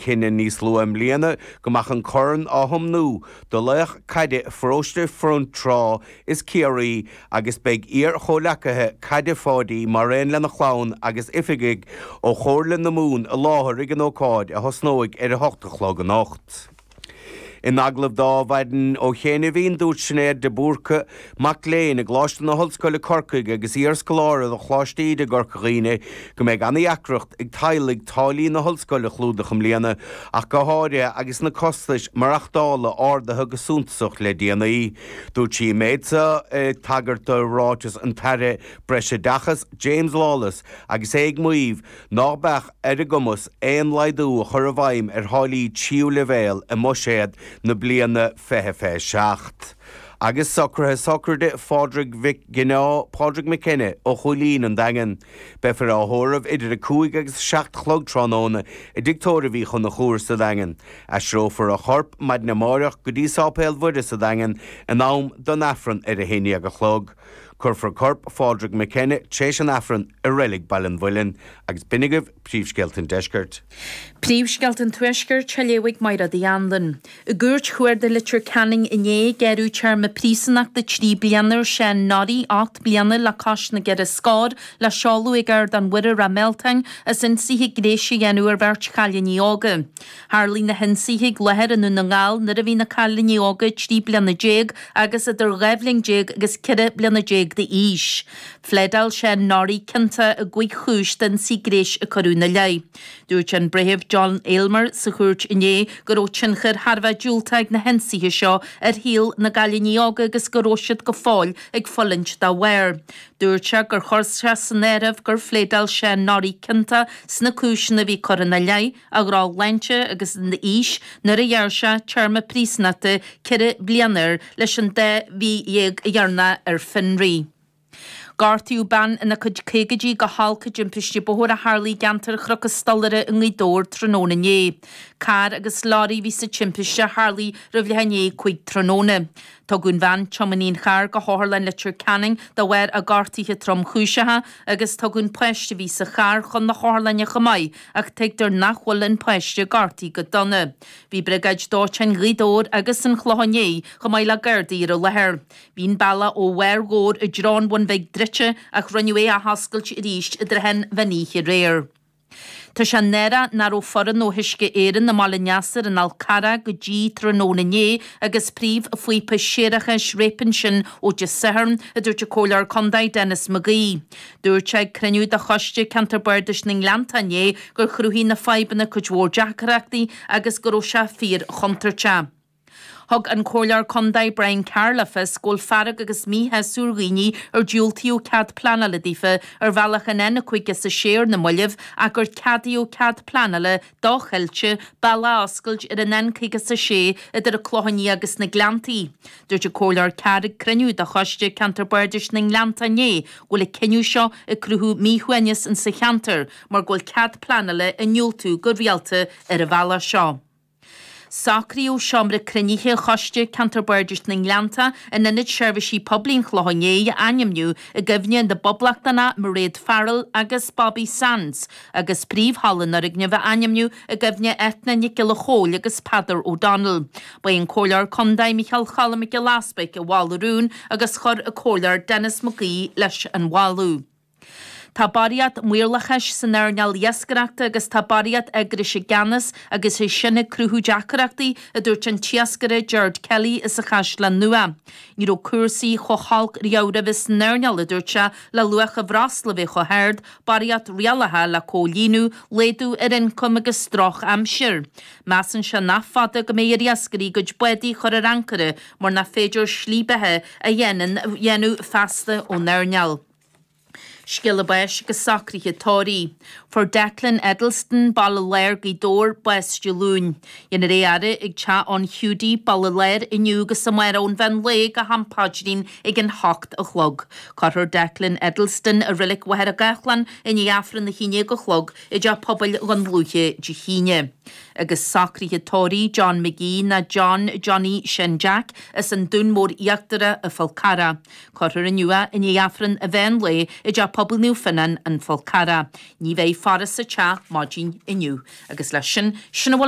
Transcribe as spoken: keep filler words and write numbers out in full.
cinneadh níos luaithe i mbliana go mbeadh an corn á thiomnú do laoch caide pharóiste Fionntrá is Ciarraí agus beidh iar-chomhleacaithe caide Pháidí mar aon lena chlann agus oifigigh ó Chomhairle na Mumhan i láthair ag an ócáid a thosnóidh ar a hocht a chlog anocht. In agallamh do Adhmhaidin ó chianaibh dúirt Sinéad de Búrca mac léinn i gColáiste na hOllscoile Corcaigh agus iarscoláire de Choláiste Íde i gCorca Dhuibhne go mbeidh an-deacracht ag teaghlaigh táillí na hollscoile a chlúdach i mbliana ach go háirithe agus na costais maireachtála ardaithe go suntasach le déanaí. Dúirt sí an méid seo ag tagairt do ráiteas an tAire Breisoideachais James Lawless agus é ag maíomh nach mbeadh ar a gcumas aon laghdú a chur i bhfeidhm ar tháillí tríú leibhéal i mbuiséad na bliana fiche fiche seacht. Agus socruithe sochraide Phádraig Mhic Gineá Pádraig McKenna ó Chúilín an Daingean. Beifear á thórramh idir a cúig agus seacht a chlog tráthnóna i dTigh Tórraimh Uí Chonchúir sa Daingean. Aistreofar a chorp maidin amárach go dtí Sáipéal Mhuire sa Daingean in am don Aifreann ar a haon déag a chlog. Cuirfear corp Phádraig McKenna tar éis an Aifrinn i reilig Baile an Mhuilinn agus b'in agaibh príomhscéalta an deiscirt. Príomhscéalta an tuaiscirt á léamh ag Máire Uí Anluain. I gCúirt Chuarda Leitir Ceanainn inné gearradh téarma príosúnachta trí bliana ar Seán Norrie ocht bliana le cois na gceithre scór le seoladh ag Ardán Mhuire Ráth Mealtain as ionsaithe gnéis a dhéanamh ar bheirt chailíní óga. Tharlaigh na hionsaithe ag láthair i nDún na nGall nuair a bhí na cailíní óga trí bliana déag agus idir dhá bhliain déag agus ceithre bliana déag d'aois. Phléadáil Seán Norrie ciontach i gcúig chúis d'ionsaí gnéis a cuireadh ina leith. Dúirt an Breitheamh John Aylmer sa chúirt inné go raibh tionchar thar bheith diúltach ag na hionsaithe seo ar shaol na gcailíní óga agus go raibh siad go fóill ag fulaingt dá bharr. Dúirt sé gur chuir sé san áireamh gur phléadáil Seán Norrie ciontach sna cúiseanna a bhí curtha ina leith a dhrochshláinte agus a aois nuair a ghearr sé téarma príosúnachta ceithre bliana air leis an dá mhí dhéag a dhéanamh ar fionraí. Gortaíodh bean ina cuid caogaidí go holc i dtimpiste bóthair a tharlaigh i gceantar Chnoc an Stolaire i nGaoth Dobhair tráthnóna inné. Carr agus leoraí a bhí sa timpiste a tharlaigh roimh leath i ndiaidh a cúig tráthnóna. Tugadh an bhean tiománaí an chairr go hOtharlann Leitir Ceanainn de bharr a gortuithe tromchúiseacha agus tugadh an páiste a bhí sa charr chun na hotharlainne chomh maith ach tuigtear nach bhfuil an páiste gortaithe go dona. Bhí briogáid dóiteáin Ghaoth Dobhair agus an Chlocháin Léith chomh maith le Gardaí ar an láthair. Bhí an bealach ó Bharr Dhobhair i dtreo an Bhun Bhig druidte ach rinneadh é a athoscailt arís i dtrátha an mheán oíche aréir. Tá sé náireach nach raibh foireann ó Uisce Éireann i mBaile Neasair an Fhál Carrach go dtí tráthnóna inné agus príomhphíopa séarachais réabtha ansin ó Dé Sathairn, a dúirt an Comhairleoir Contae Denis McGee. Dúirt sé ag cruinniú de choiste ceantar Bardais na nGleannta inné gur chruthaigh na fadhbanna cuid mhór deacrachtaí agus go raibh sé fíorchontúirteach. Thug an Comhairleoir Contae Brian Carr le fios go bhfuil fearg agus míshásamh ar dhaoine ar diúltaíodh cead pleanála daofa ar bhealach an N cúig is a sé ar na mallaibh ach gur ceadaíodh cead pleanála docheilte bealach a oscailt ar an N cúig is a sé idir an Clochán Liath agus na Gleanntaí. Dúirt an Comhairleoir Carr ag cruinniú de choiste ceantar Bardais na nGleannta inné go bhfuil an cinneadh seo ag cruthú míshuaimhneas insa cheantar mar go bhfuil cead pleanála á ndiúltú go rialta ar an bhealach seo. Socraíodh seomra cruinnithe choiste ceantar Bardais na nGleannta in Ionad Seirbhísí Poiblí an Chlocháin Léith a ainmniú i gcuimhne na bPoblachtánach Mairéad Farrell agus Bobby Sands, agus príomhhalla an fhoirgnimh a ainmniú i gcuimhne Eithne Nic Giolla Chóill agus Peadar O'Donnell. Ba é an Comhairleoir Contae Micheál Cholm Mac Giolla Easpaig a mhol an rún agus chuir an Comhairleoir Denis McGee leis an mholadh. Tá barraíocht maorlathais san earnáil iascaireachta agus tá barraíocht eagrais i gceannas agus é sin ag cruthú deacrachtaí a dúirt an t-iascaire Gerard Kelly as an Chaisleán Nua. Ní raibh cúrsaí chomh holc riamh roimhe san earnáil a dúirt sé le luach an bhreosla bheith chomh hard, barraíocht rialacha le comhlíonadh, laghdú ar ioncam agus drochaimsir. Measann sé nach fada go mbeidh ar iascairí a gcuid bádaí a chur ar ancaire mar nach féidir slí beatha a dhéanamh feasta ón earnáil. Scéala báis agus socruithe tórraimh. Fuair Declan Edelston Baile Láir Gaoth Dobhair bás Dé Luain. Dhéanfar é a fhaire ag teach an Hiúdaí Baile Láir inniu agus amárach ón mheán lae go ham paidrín ag an hocht a chlog. Cuirfear Declan Edelston i Reilig Mhachaire Gathlán i ndiaidh Aifreann a haon déag a chlog i dteach pobail Dhún Lúiche Dé hAoine. Agus socruithe tórraimh John McGee ná John Johnny Sin Jack as an Dún Mór Íochtarach i Fál Carrach. Cuirfear inniu é i ndiaidh Aifreann an mheán lae i dteach pobail Naomh Fionnán an Fál Carrach. Ní bheidh faire sa teach maidin inniu. Agus leis sin sin a bhfuil